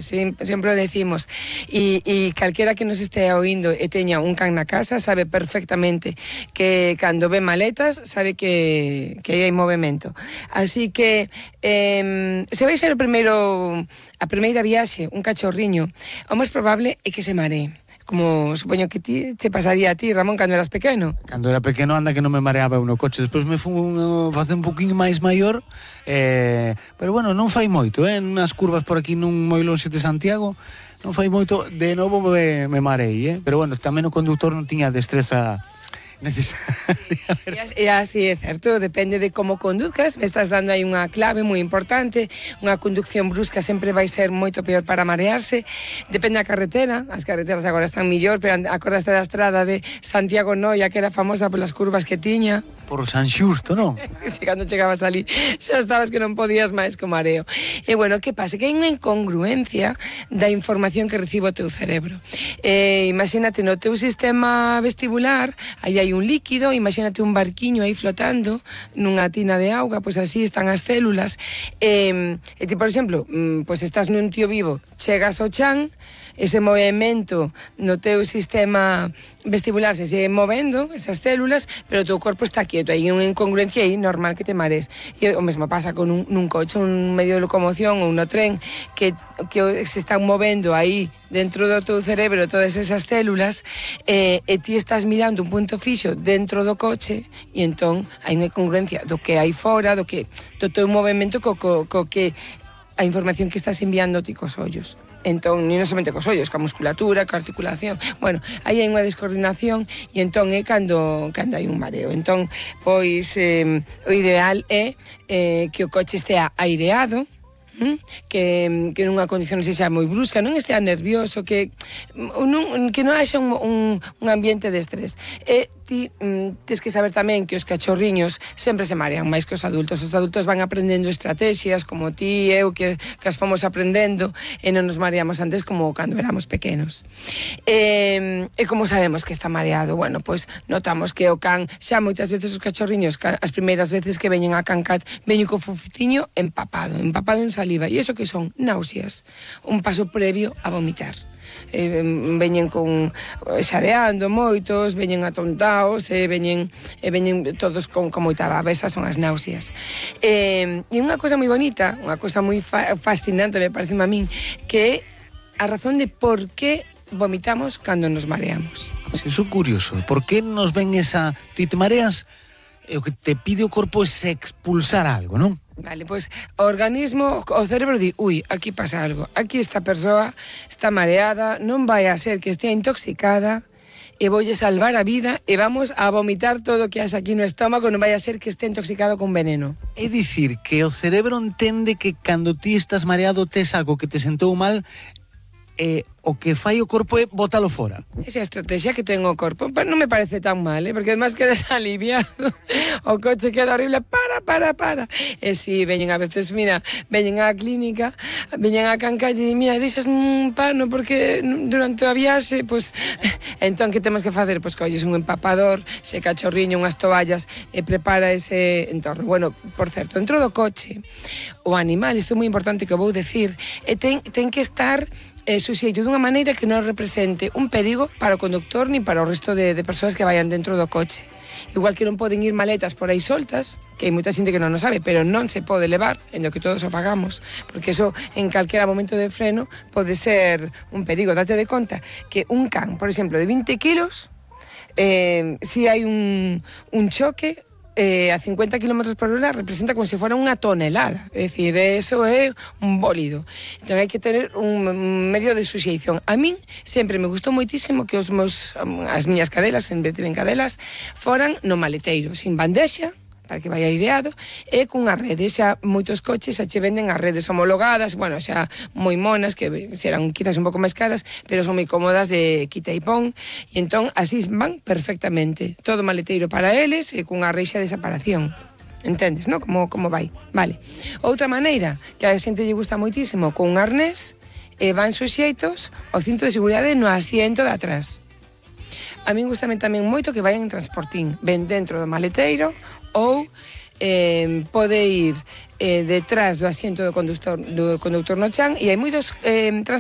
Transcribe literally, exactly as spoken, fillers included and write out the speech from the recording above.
Sempre o decimos, e, e calquera que nos estea oindo e teña un can na casa sabe perfectamente que cando ve maletas sabe que, que hai movimento. Así que eh, se vai ser o primeiro, a primeira viaxe, un cachorriño, o máis probable é que se maree. Como supoño que ti te pasaría a ti, Ramón, cando eras pequeno. Cando era pequeno anda que non me mareaba eu no coche. Despois me fun uh, facer un poquinho máis maior, eh, pero bueno, non fai moito, eh, nas curvas por aquí nun moi lonxe de Santiago, non fai moito, de novo me, me marei, eh, pero bueno, tamén o conductor non tiña destreza necesaria. E así é certo, depende de como conduzcas. Me estás dando aí unha clave moi importante. Unha conducción brusca sempre vai ser moito peor para marearse. Depende da carretera, as carreteras agora están millor, pero acordaste da estrada de Santiago Noia, que era famosa polas curvas que tiña. Por San Xusto, non? Si, cando chegabas ali xa estabas que non podías máis co mareo. E bueno, que pasa? Que hai unha incongruencia da información que recibe o teu cerebro. Eh, imagínate, no teu sistema vestibular aí hai un líquido, imagínate un barquiño aí flotando nunha tina de auga, pois así están as células. E, e ti, por exemplo, pois estás nun tío vivo, chegas ao chan, ese movimento no teu sistema vestibular se sigue movendo, esas células, pero o teu corpo está quieto, hai unha incongruencia aí normal que te mares. E o mesmo pasa con un, nun coche, un medio de locomoción ou no tren, que, que se están movendo aí dentro do teu cerebro todas esas células, eh, e ti estás mirando un punto fixo dentro do coche, e entón hai unha incongruencia do que hai fora, do que do teu movimento co, co, co que a información que estás enviando ti cos ollos. Entón, non somente cos ollos, ca musculatura, ca articulación. Bueno, aí hai unha descoordinación e entón é cando, cando hai un mareo. Entón, pois, eh, o ideal é eh, que o coche estea aireado, que, que nunha condición non sexa moi brusca, non estea nervioso, que non, que non haxa un, un, un ambiente de estrés. E ti mm, tens que saber tamén que os cachorriños sempre se marean máis que os adultos. Os adultos van aprendendo estrategias, como ti e eu, que, que as fomos aprendendo, e non nos mareamos antes como cando éramos pequenos. E, e como sabemos que está mareado? Bueno, pois notamos que o can, xa moitas veces os cachorriños, as primeiras veces que veñen a cancat, veñen co fuficiño empapado, empapado en saliva. E iso que son náuseas, un paso previo a vomitar. Eh, veñen con xareando moitos, veñen atontaos, e veñen, e veñen todos con, con moita baba. Esas son as náuseas. Eh, e unha cosa moi bonita, unha cosa moi fa fascinante, me parece a min, que é a razón de por que vomitamos cando nos mareamos. Eso é curioso. Por que nos ven esa... Ti te mareas, e o que te pide o corpo é expulsar algo, non? Vale, pois o organismo, o cerebro di, ui, aquí pasa algo, aquí esta persoa está mareada, non vai a ser que estea intoxicada e voulle salvar a vida e vamos a vomitar todo o que has aquí no estómago, non vai a ser que este intoxicado con veneno. É dicir, que o cerebro entende que cando ti estás mareado tes algo que te sentou mal, e o que fai o corpo é botalo fora. Esa estrategia que ten o corpo, non me parece tan mal, ¿eh? Porque además quedas aliviado, o coche queda horrible, para, para, para. E si, veñen a veces, mira, veñen á clínica, veñen á cancalle e mira, deixas un pano porque durante a viaxe, pois, entón, que temos que facer? Pois colles un empapador, se cachorriño, unhas toallas, e prepara ese entorno. Bueno, por certo, dentro do coche, o animal, isto é moi importante que vou decir, e ten, ten que estar eh, suxeito dunha maneira que non represente un perigo para o conductor ni para o resto de, de persoas que vayan dentro do coche. Igual que non poden ir maletas por aí soltas, que hai moita xente que non o sabe, pero non se pode levar, en lo que todos o pagamos, porque eso en calquera momento de freno pode ser un perigo. Date de conta que un can, por exemplo, de vinte kilos, eh, si hai un, un choque, Eh, a cincuenta kilómetros por hora representa como se fuera unha tonelada, é dicir, eso é un bólido. Entón hai que ter un medio de suxeición. A min sempre me gustou moitísimo que os meus, as miñas cadelas, sempre tiven cadelas, foran no maleteiro, sin bandexa, para que vai aireado, e cunha rede. Xa moitos coches xa che venden as redes homologadas, bueno, xa moi monas, que serán quizás un pouco máis caras, pero son moi cómodas de quita e pon, e entón así van perfectamente. Todo maleteiro para eles e cunha reixa de separación. Entendes, non? Como, como vai. Vale. Outra maneira, que a xente lle gusta moitísimo, con un arnés, e van suxeitos o cinto de seguridade no asiento de atrás. A min gustame tamén moito que vayan en transportín, ben dentro do maleteiro, ou eh, pode ir eh, detrás do asiento do conductor, do conductor no chan, e hai moitos eh,